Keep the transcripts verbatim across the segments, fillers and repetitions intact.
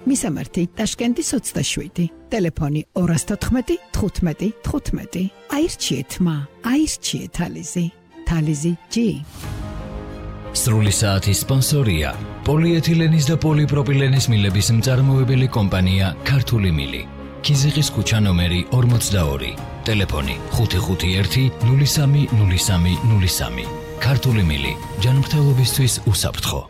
მისამართი ტაშკენტის ოცდაშვიდი, ტელეფონი ორას თოთხმეტი, თხუთმეტი, თხუთმეტი. აირჩიეთ მა, აირჩიეთ თალიზი, თალიზი ჯი. სრული საათის სპონსორია პოლიეთილენის და პოლიპროპილენის მილების მწარმოებელი კომპანია ქართული მილი. ქიზიყის ქუჩა ნომერი ორმოცდაორი, ტელეფონი ხუთი ხუთი ერთი, ნული სამი, ნული სამი, ნული სამი. ქართული მილი, ჯანმრთელობისთვის უსაფრთხო.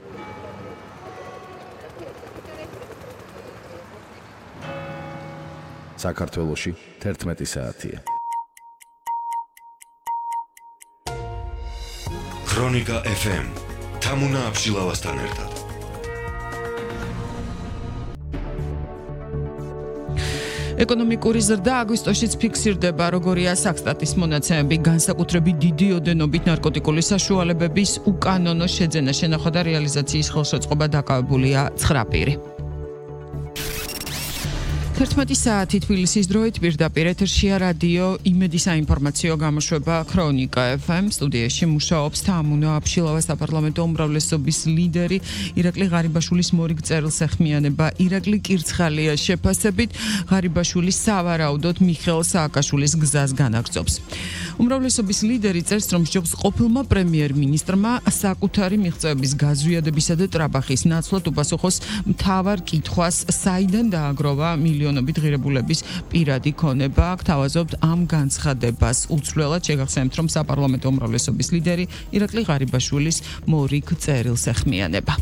საქართველოში თერთმეტი საათია. ქრონიკა ეფ ემ თამუნა აბშილავასთან ერთად. ეკონომიკური ზრდა აგვისტოშიც ფიქსირდება, როგორია საქსტატის მონაცემები, განსაკუთრებით დიდი ოდენობით ნარკოტიკული საშუალებების უკანონო შეძენა, შენახვა და რეალიზაციის ხელშეწყობა დაკავებულია ცხრა პირი. თერთმეტი საათი თბილისის დროით პირდაპირ ეთერშია რადიო იმედი საინფორმაციო გამოშვება ქრონიკა ეფ ემ. სტუდიაში მუშაობს თამუნა აბშილავა, საპარლამენტო უმრავლესობის ლიდერი, ირაკლი ღარიბაშვილის მორიგ წერილსახმიანება, ირაკლი კირცხალია შეფასებით, ღარიბაშვილი სავარაუდოდ მიხეილ სააკაშვილის გზას განაგრძობს. უმრავლესობის ლიდერი წერს, რომ სჯობს ყოფილმა პრემიერ-მინისტრმა საკუთარი მიღწევების გაზვიადებისა და ტრაბახის ნაცვლად უპასუხოს მთავარ კითხვას, საიდან დააგროვა მილიონობით ღირებულების პირადი ქონება. გთავაზობთ ამ განცხადებას. უცვლელად შეგახსენებთ, რომ საპარლამენტო უმრავლესობის ლიდერი ირაკლი ღარიბაშვილის მორიგ წერილს ეხმიანება.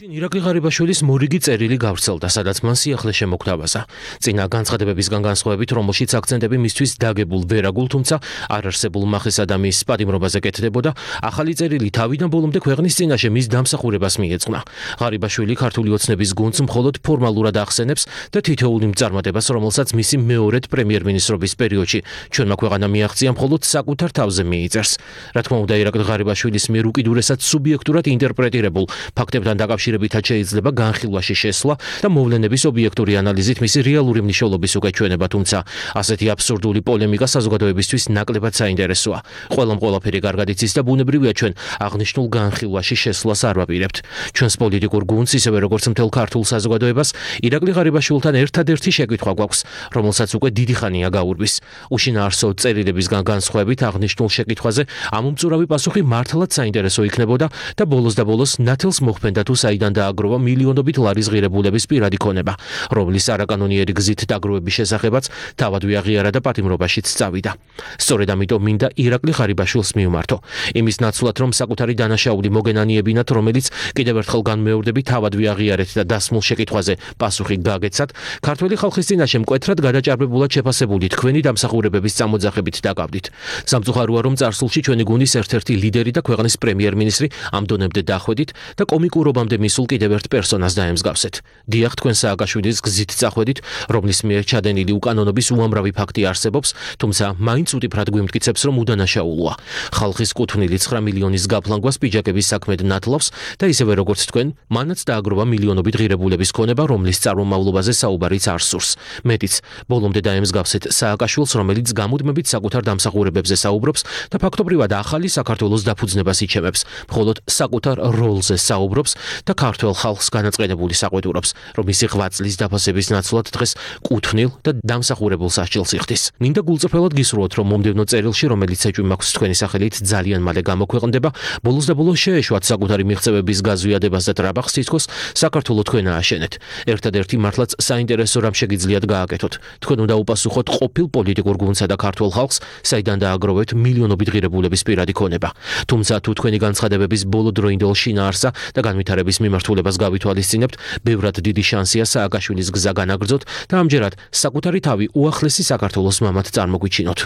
ირაკლი ღარიბაშვილის მორიგი წერილი გავრცელდა, სადაც მან სიახლე შემოგთავაზა. წინა განცხადებებისგან განსხვავებით, რომელშიც აქცენტები მისთვის დაგებულ ვერაგულ, თუმცა არ არსებულ მახესა და მის პატიმრობაზე კეთდებოდა, ახალი წერილი თავიდან ბოლომდე ქვეყნის წინაშე მის დამსახურებას მიეძღვნა. ღარიბაშვილი ქართული ოცნების გუნდს მხოლოდ ფორმალურად ახსენებს და თითოეული მწარმოებას, რომელსაც მისი მეორედ პრემიერ-მინისტრობის პერიოდში ჩვენმა ქვეყანამ მიაღწია, მხოლოდ საკუთარ თავზე მიიწერს. რა თქმა უნდა, ირაკლი ღარიბაშვილის მიერ უკიდურესად სუბიექტურად ინტერპრეტირებულ ფაქტებთან დაკავშირებით შეიძლება განხილვაში შესვლა და მოვლენების ობიექტური ანალიზით მისი რეალური მნიშვნელობის უკეჩვენება, თუმცა ასეთი აბსურდული პოლემიკა საზოგადოებისთვის ნაკლებად საინტერესოა. ყველამ ყველაფერი კარგად იცის და ბუნებრივია ჩვენ აღნიშნულ განხილვაში შესვლას არ ვაპირებთ. ჩვენს პოლიტიკურ გუნდს, ისევე როგორც მთელ ქართულ საზოგადოებას, ირაკლი ღარიბაშვილთან ერთადერთი შეკითხვა გვაქვს, რომელსაც უკვე დიდი ხანია გაურბის. უშინაარსო წერილებისგან განსხვავებით აღნიშნულ შეკითხვაზე ამომწურავი პასუხი მართლაც საინტერესო იქნებოდა და ბოლოს და ბოლოს ნათელს მოხმენდა თუ საიდან დააგროვა მილიონობით ლარის ღირებულების პირადი ქონება, რომლის არაკანონიერი გზით დაგროვების შესახებაც თავად ვიაღიარა და პატიმრობაშიც წავიდა. სწორედ ამიტომ მინდა ირაკლი ღარიბაშვილს მიუმართო. იმის ნაცვლად, რომ საკუთარი დანაშაული მოგენანიებინათ, რომელიც კიდევ ერთხელ განმეორდები თავად ვიაღიარეთ და დასმულ შეკითხვაზე პასუხი გაგეცათ, ქართველი ხალხის წინაშე მკვეთრად გადაჭარბებულად შეფასებული თქვენი დამსახურებების წამოძახებით დაკავდით. სამწუხაროა, რომ წარსულში ჩვენი გუნდის ერთ-ერთი ლიდერი და ქვეყნის პრემიერ-მინისტრი ამ დონემდე დახვედით და კომიკურობამდე მისულ კიდევ ერთ პერსონას დაემსგავსეთ. დიახ, თქვენ სააკაშვილის გზით წახვედით, რომლის მიერ ჩადენილი უკანონობის უამრავი ფაქტი არსებობს, თუმცა მაინც უტიფრად გვიმტკიცებს, რომ უდანაშაულოა. ხალხის კუთვნილი ცხრა მილიონის გაფლანგვას პიჯაკების საქმედ ნათლავს და ისევე როგორც თქვენ, მანაც დააგროვა მილიონობით ღირებულების ქონება, რომლის წარმომავლობაზე საუბარიც არ სურს. მეტიც, ბოლომდე დაემსგავსეთ სააკაშვილს, რომელიც გამუდმებით საკუთარ დამსახურებებზე საუბრობს და ფაქტობრივად ახალი საქართველოს დაფუძნებას იჩემებს, მხოლოდ საკუთარ როლზე საუბრობს და ქართველ ხალხს განაწყენებული საყვედურობს, რომ მისი ღვაწლის დაფასების ნაცვლად დღეს კუთვნილ და დამსახურებულ სასჯელს იხდის. მინდა გულწრფელად გისურვოთ, რომ მომდევნო წერილში, რომელიც ეჭვი მაქვს თქვენი სახელით, ძალიან მალე გამოქვეყნდება, ბოლოს და ბოლოს შეეშვათ საკუთარი მიღწევების გაზვიადებას და ტრაბახს, თითქოს საქართველო თქვენ ააშენეთ. ერთადერთი მართლაც საინტერესო რამ შეგიძლიათ გააკეთოთ. თქვენ უნდა უპასუხოთ ყოფილ პოლიტიკურ გუნდსა და ქართველ ხალხს, საიდან დააგროვეთ მილიონობით ღირებულების პირადი ქონება. თუმცა თუ თქვენი განცხადებების ბოლოდროინდელ შინაარსა და განვითარების მიმართულებას გავითვალისწინებთ, ბევრად დიდი შანსია სააკაშვილის გზა განაგრძოთ და ამჯერად საკუთარი თავი უახლესი საქართველოს მამად წარმოგვიჩინოთ.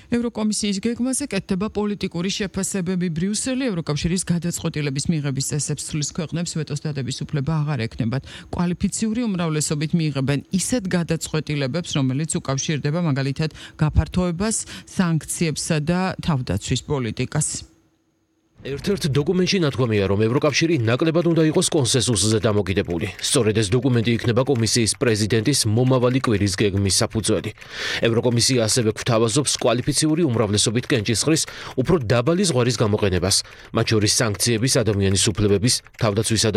ევროკომისიის გეგმაზე კეთდება პოლიტიკური შეფასებები. ბრიუსელი ევროკავშირის გადაწყვეტილების მიღების წესებს ცვლის, ქვეყნებს ვეტოს დადების უფლება აღარ ექნებათ. კვალიფიციური უმრავლესობით მიიღებენ ისეთ გადაწყვეტილებებს, რომელიც უკავშირდება მაგალითად გაფართოებას, სანქციებსა და თავდაცვის პოლიტიკას. ერთ-ერთ დოკუმენტში ნათქვამია, რომ ევროკავშირი ნაკლებად უნდა იყოს კონსენსუსზე დამოკიდებული. სწორედ ეს დოკუმენტი იქნება კომისიის პრეზიდენტის მომავალი კვირის გეგმის საფუძველი. ევროკომისია ასევე გვთავაზობს კვალიფიციური უმრავლესობით კენჭისყრის უფრო დაბალი ზღვარის გამოყენებას, მათ შორის სანქციების, ადამიანის უფლებების, თავდაცვისა და